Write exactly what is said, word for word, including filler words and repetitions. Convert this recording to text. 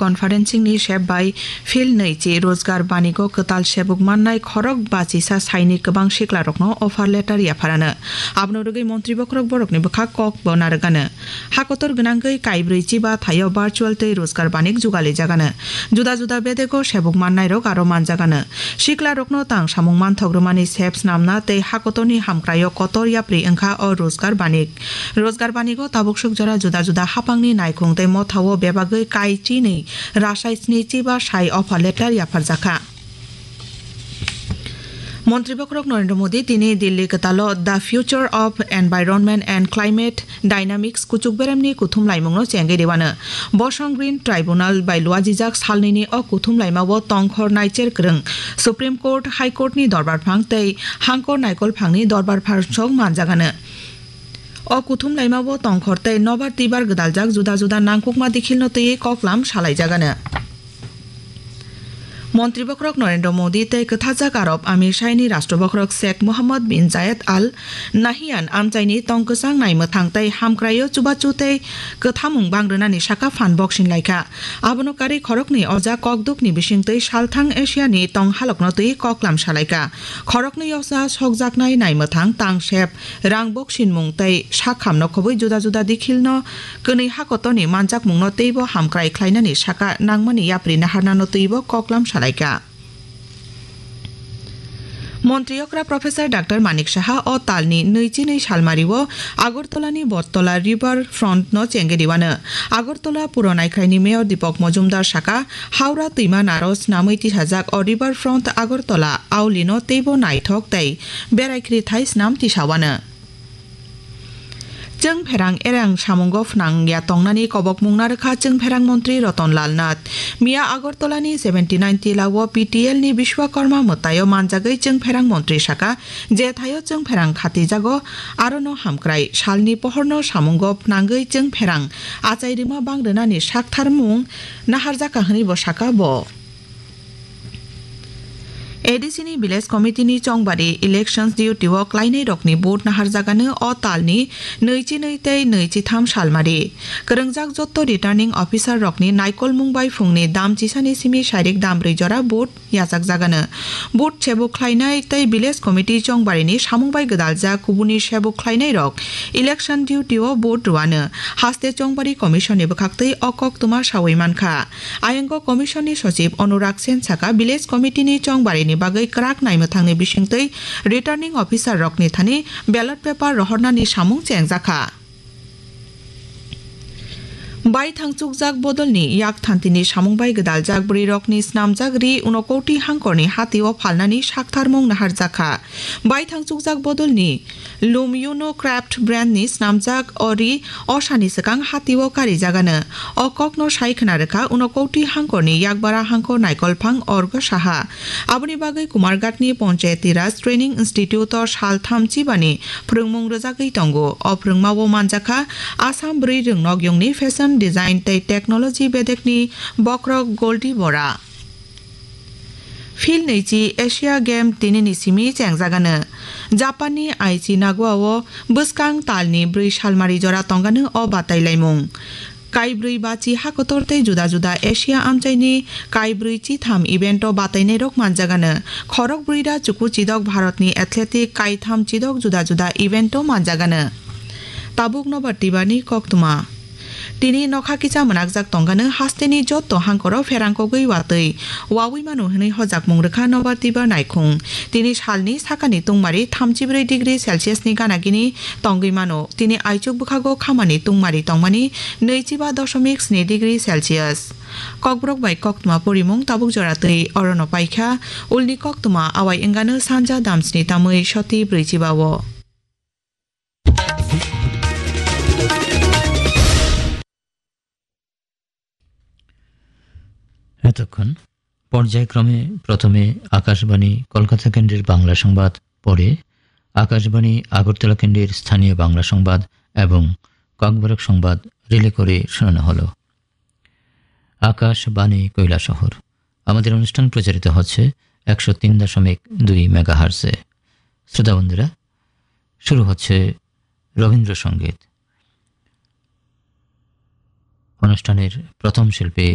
Conferencing ni sep bai phil nwi chi Rozgar Banigo kwtal sebuk mannai khorok bachisa saini kwbang siklarokno offer letter yapharano. Abono rwgwi montri bokhorok borokni bwkha kok bo narwgano. Hakotor gwnangwi kaibrwi chiba thaio virtual tei Rozgar Banik jugalijagano. Juda juda bedego sebuk mannairok aro manjagano. Siklarokno tang samung manthok rwmani sep snamna tei hakotorni hamkraio kotor yapri wngkha o Rozgar Banik. Rozgar Banigo tabuksuk jora juda juda haphangni naikhung tei mothao bebagwi kai chinwi rasai sni chiba sai offer letter yapharjakha. Montri bokhorok Narendra Modi tini Delhi kwtalo The Future of Environment and Climate Dynamics kuchuk beremni kuthum laimungno chengwi rwano. Bosong Green Tribunal bai luajijak salnwini o kuthum laimao tongkhor naicher kwrwng Supreme Court, High Court ni dorbar phang tei hangkor naikol phangni dorbar phang sok manjagano. O kuthum laimao tongkhor tei nobar twibar gwdaljak juda juda nangkukma dikhilno twiwi koklam salaijagano. Montri bokhorok Narendra Modi tei kwthajak Arab Amir Shaini Rashtra bokhorok Sheikh Mohammed bin Zayed Al Nahyan amchaini tong kwchang nai mwthang tei hamkraio chubachu tei kwthamung bang rwnani saka phan boksing laikha. Abono karwi khoroknwi oja kokdukni bisingtwi salthang Asiani tong halokno twi koklam salaikha. Khoroknwi oja sokjaknai nai mwthang tang sep rang boksinmung tei sak hamno khobwi juda juda dikhilno kwnwi hakotorni manjakmungno teibo hamkrai khlainani saka nangmani yapri naharnano twibo koklam salaikha. Montri okra Professor Doctor Manik Saha o talni nwichi nwi salmario Agartala ni Bottola River Front no chengwi rwano. Agartala puro naikhraini Mayor Deepak Majumdar saka, Howrah twima naro snamwi tisajak o River Front Agartala auli no teibo naithok tei berai khri thai snam tisawano. Chwng pherang erang samungo phnang ya tongnani kobokmung narwkha Chwng pherang montri Ratan Lal Nath. Miya Agartala ni seventy nine tila o P T L ni Bishwakarma mwtaio manjagwi Chwng pherang montri saka, je thaio Chwng pherang khatijago, arono hamkrai salni pohorno samungo phnangwi Chwng pherang achai rwma bang rwnani saktharmung naharjakha hwnwi bo saka bo. A D C ni Village Committee ni chongbari elections duty o klainai rokni vote naharjagano o talni nwichi nwi tei nwichi tham salmari. Kwrwngjak jotto returning officer rokni naikolmung bai phungni dam chisani simi sairik dam brwi jora vote yachakjagano. Vote sebuk khlainai tei Village Committee chongbarini samung bai gwdaljak kubuni sebuk khlainai rok election duty o vote rwano haste chongbari commission ni bwkhaktwi o koktwma sawi mankha. Ayango Commission ni Sochib Anurag Sen saka, Village Committee ni chongbarini bagwi kwrak naimwthangni bisingtwi Returning Officer rokni thani ballot paper rohornani samung chengjakha. Baithang chukjak bodolni yak thantini samung bai gwdaljak bwrwirokni snamjak ri unokoti hangkorni hatio phalnani saktharmung naharjakha. Baithang chukjak bodolni Lum Uno Craft brand ni snamjak o ri osani swkang hatio karijagano. O kokno sai khna rwkha Unokoti hangkorni yakbara hangkor Naikolphang Orgo Saha. Aboni bagwi Kumarghatni Panchayati Raj Training Institute o sal thamchi bani phwrwngmung rwjagwi tongo. O phwrwngmao manjakha Assam bwrwi rwngnokyungni fashion design tei technology bedekni bokhorok Goldie Bora. Phil nwichi Asia Game tinini simi chengjagano. Japanni Aichi Nagoya-o bwskang talni bwrwi salmari jora tongano o batailaimung. Kaibrwi bachi hakotor tei juda juda Asia amchaini kaibrwi chitham event-o batainairok manjagano. Khorok bwrwi da chuku chidok Bharatni athletic kaitham chidok juda juda event-o manjagano. Tabuk nobar tibani koktwma. Tini nokha kisa mwnakjak tongano hasteni jotto hangkoro pherangkogwi watwi wawi mano hwnwi hojakmung rwkha nobar tiba naikhung. Tini salni sakani tungmari thamchi bwrwi degree Celsius ni gana gini tongwi mano. Tini aichuk bwkhago khamani tungmari tongmani nwichiba dosomik sni degree Celsius. Kokborok bai koktwma porimung tabuk jora twi orono paikha. Ulni koktwma awai wngano sanja damsni tamwi soti brwichiba o. এতক্ষণ পর্যায়ক্রমে প্রথমে আকাশবাণী কলকাতা কেন্দ্রের বাংলা সংবাদ, পরে আকাশবাণী আগরতলা কেন্দ্রের স্থানীয় বাংলা সংবাদ এবং ককবরক সংবাদ রিলে করে শোনানো হলো। আকাশবাণী কৈলাসহর। আমাদের অনুষ্ঠান প্রচারিত হচ্ছে একশো তিন দশমিক দুই মেগাহার্টজে। শ্রোতা বন্ধুরা, শুরু হচ্ছে রবীন্দ্রসঙ্গীত। অনুষ্ঠানের প্রথম শিল্পী